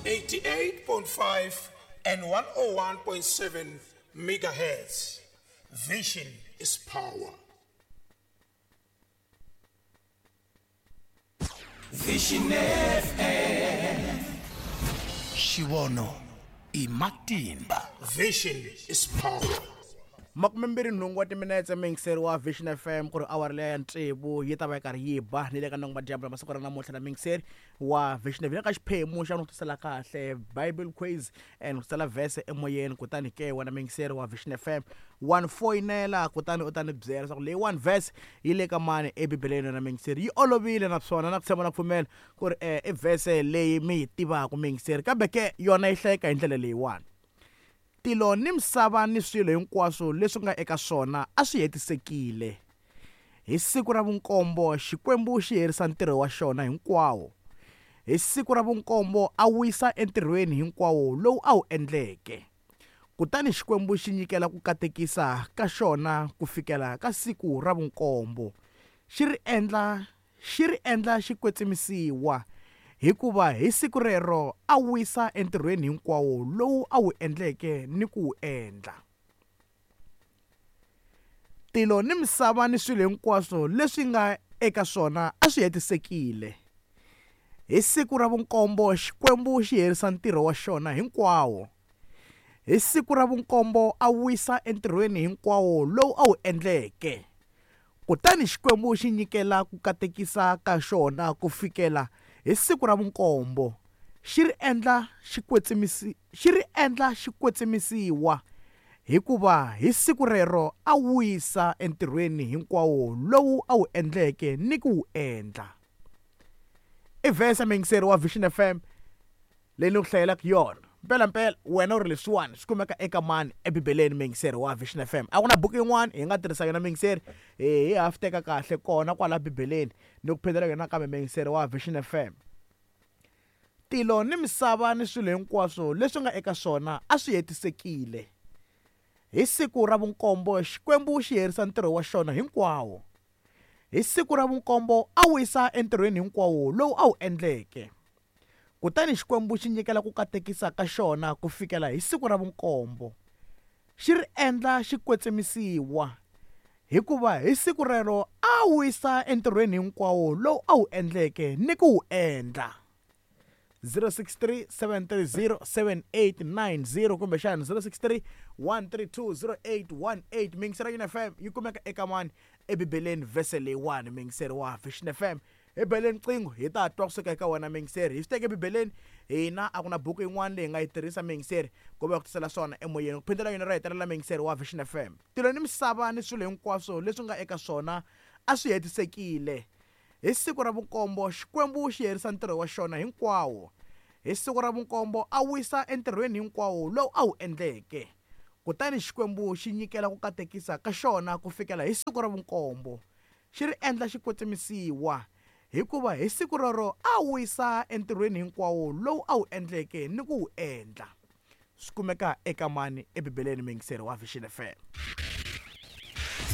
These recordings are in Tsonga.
88.5 and 101.7 megahertz. Vision is power. Vision FM. Xivono i matimba. Vision is power. 28 wa timinetse miyingiseri wa Vision FM ku ri awara leya ya tsevu yi ta va yi karhi yi ba ni le ka nongo madyambu masiku ra namuntlha na miyingiseri wa Vision FM ka xiphemu xa no tisela kahle Bible quiz and ku tisela verse emoyeni kutani ke wena miyingiseri wa Vision FM wa ni foyinela kutani u ta ni byela leswaku leyi one verse yi le ka mani ebibeleni na miyingiseri yi olovile naswona na ku tshemba na ku pfumela ku ri i verse leyi mi yi tivaka miyingiseri kambe ke yona yi hlayeka hi ndlela leyiwani. Tilo ni misava ni swilo hinkwaswo leswi nga eka swona a swi hetisekile. Hi siku ra vunkombo Xikwembu xi herisa ntirho wa xona hinkwawo. Hi siku ra vunkombo a wisa entirhweni hinkwawo lowu a wu endleke. Kutani Xikwembu xi nyikela ku katekisa ka xona ku fikela ka siku ra vunkombo, xi ri endla xi ri endla xi kwetsimisiwa, hikuva hi siku rero a wisa entirhweni hinkwawo lowu a wu endleke ni ku wu endla. Tilo ni misava ni swilo hinkwaswo leswi nga eka swona a swi hetisekile. Hi siku ra vunkombo Xikwembu xi herisa ntirho wa xona hinkwawo. Hi siku ra vunkombo a wisa entirhweni hinkwawo lowu a wu endleke. Kutani Xikwembu xi nyikela ku katekisa ka xona ku fikela hi siku ra vunkombo, xi ri endla xi kwetsimisi, xi ri endla xi kwetsimisiwa, hikuva hi siku rero a wisa entirhweni hinkwawo lowu a wu endleke ni ku wu endla. I vhese muyingiseri wa Vision FM leyi ni ku hlayelaka yona. Mpelampela wena u ri leswiwani swi kumeka eka mani eBibeleni muyingiseri wa Vision FM. A ku na buku yin'wana hi nga tirhisa yona muyingiseri, hi ha swi teka kahle kona kwala Bibeleni ni ku phindela yona kambe muyingiseri wa Vision FM. Tilo ni misava ni swilo hinkwaswo leswi nga eka swona a swi hetisekile. Hi siku ra vunkombo Xikwembu xi herisa ntirho wa xona hinkwawo. Hi siku ra vunkombo a wisa entirhweni hinkwawo lowu a wu endleke. Kutani Xikwembu xi nyikela ku katekisa ka xona ku fikela hi siku ra vunkombo, xi ri endla xi kwetsimisiwa, hikuva hi siku rero a wisa entirhweni hinkwawo lowu a wu endleke ni ku wu endla. 063 730 7890 kumbexana 063 132 0818 Mingisera Yini FM yi kumeka eka mani eBibeleni vhese leyiwani muyingiseri wa Vision FM hi beleni qingho hi ta twa kusuka eka wena muyingiseri hi swi teke ebibeleni hina a ku na buku yin'wana leyi hi nga yi tirhisa muyingiseri ku va ku tisela swona emoyeni ku phindela yona ro hetelela muyingiseri wa Vision FM tilo ni misava ni swilo hinkwaswo leswi nga eka swona a swi hetisekile hi siku ra vunkombo Xikwembu xi herisa ntirho wa xona hinkwawo hi siku ra vunkombo a wisa entirhweni hinkwawo lowu a wu endleke kutani Xikwembu xi nyikela ku katekisa ka xona ku fikela hi siku ra vunkombo xi ri endla xi kwetsimisiwa, hikuva hi siku rero a wisa entirhweni hinkwawo lowu a wu endleke ni ku wu endla. Swi kumeka eka mani eBibeleni muyingiseri wa Vision FM.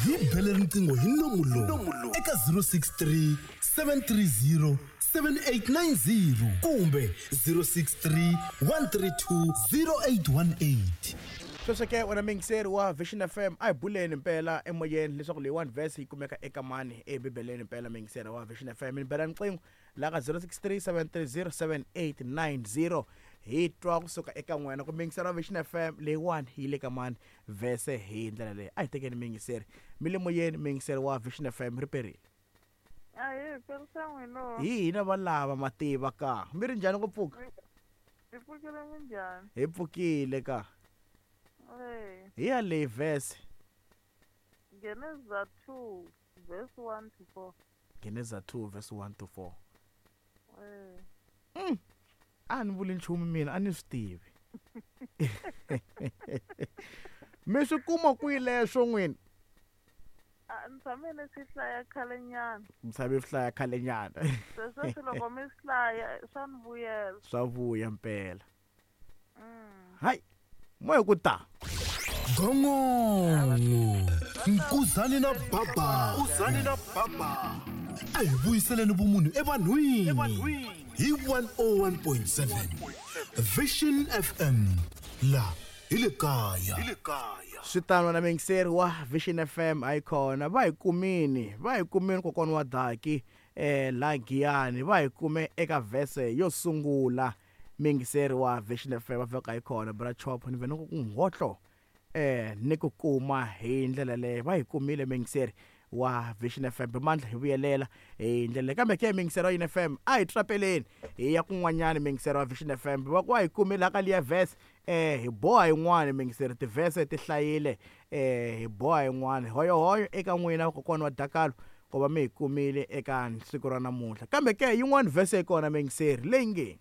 Hi bele riqingho hi nomu lowu eka 063 730 7890 kumbe 063 132 0818. Sweswo ke wena muyingiseri wa Vision FM a hi buleni mpela emoyeni leswaku leyi one verse yi kumeka eka mani eBibeleni mpela muyingiseri wa Vision FM ni bela riqingho la ka 063 730 7890 hi twa kusuka eka n'wena ku muyingiseri wa Vision FM leyiwani yi le ka mani vhese hi ndlela leyi a hi tekeni muyingiseri mi le moyeni muyingiseri wa Vision FM ri perile. Ahee, perisa n'wina. Hi hina valava mativa ka mi ri njhani ku pfuka? Hi pfukile minjhani? Hi pfukile ka. Ee. Hi ya leyi verse. Geneza 2 verse 1 to 4. Geneza 2 verse 1 to 4. Ee. A ni vuli nchumu mina a ni swi tivi. Mi swi kuma kwihi leswo n'wina? A ni tshame ni swi hlaya khalenyana. Mi tshame swi hlaya khalenyana. Se sweswi loko mi swi hlaya swa ni vuyela. Swa vuya mpela. Hayi, moya ku ta. Gongongo Nkuzani na Baba Nkuzani na Baba a hi vuyiseleni vumunhu evanhwini hi 101.7. Vision FM la hi le kaya. Swi tano na muyingiseri wa Vision FM a yi kona va hi kumini va hi kumini kokwana wa Daki la Giyani va hi kume eka vhese yo sungula muyingiseri wa Vision FM va fika hi kona bra chop ni vhe ni ku nghotlo ni ku kuma hi ndlela leyo va hi kumile muyingiseri wa Vision FM Mandla hi vuyelela hi ndlela leyi kambe ke muyingiseri wa UNFM a hi trapeleni hi ya kun'wanyana muyingiseri wa Vision FM va ku va hi kumile la ka liya verse hi boha yin'wana muyingiseri tivhese ti hlayile hi boha yin'wana hoyohoyo eka n'wina kokwana wa Dakalo ku va mi hi kumile eka siku ra namuntlha kambe ke yin'wana vhese yi kona muyingiseri leyi nge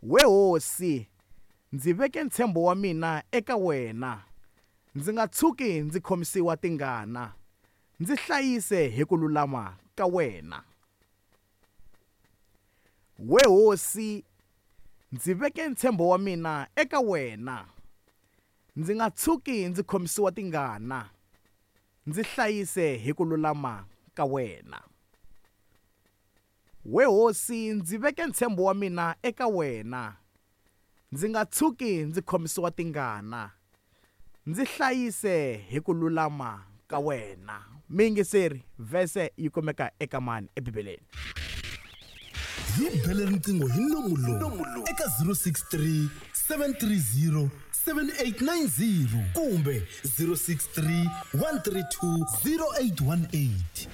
we hosi ndzi veke ntshembo wa mina eka wena ndzi nga tshuki ndzi khomisiwa tingana ndzi hlayise hi ku lulama ka wena. We hosi ndzi veke ntshembo wa mina eka wena ndzi nga tshuki ndzi khomisiwa tingana ndzi hlayise hi ku lulama ka wena. We hosi ndzi veke ntshembo wa mina eka wena ndzi nga tshuki ndzi khomisiwa tingana ndzi hlayise hi ku lulama ka wena. Muyingiseri vhese yi kumeka eka mani eBibeleni. Hi bele riqingho hi nomu lowu eka 063 730 7890 kumbe 063 132 0818.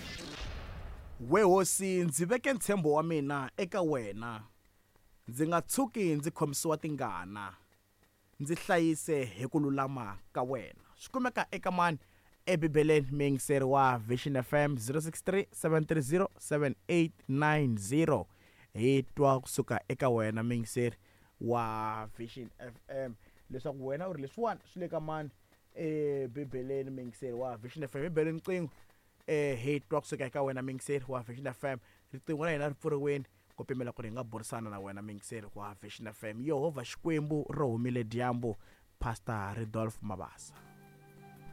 We hosi ndzi veke ntshembo wa mina eka wena ndzi nga tshuki ndzi khomisiwa tingana ndzi hlayise hi ku lulama ka wena. Swi kumeka eka mani eBibeleni muyingiseri wa Vision FM 063 730 7890 hi twa kusuka eka wena muyingiseri wa Vision FM leswaku wena u ri leswiwani swi le ka mani eBibeleni muyingiseri wa Vision FM. Hi bele riqingho hi twa kusuka eka wena muyingiseri wa Vision FM. Riqingho ra hina ri pfuriwile ku pimela ku ri hi nga burisana na wena muyingiseri wa Vision FM. Yehovha Xikwembu ri humile dyambu, Pastor Rudolph Mabasa.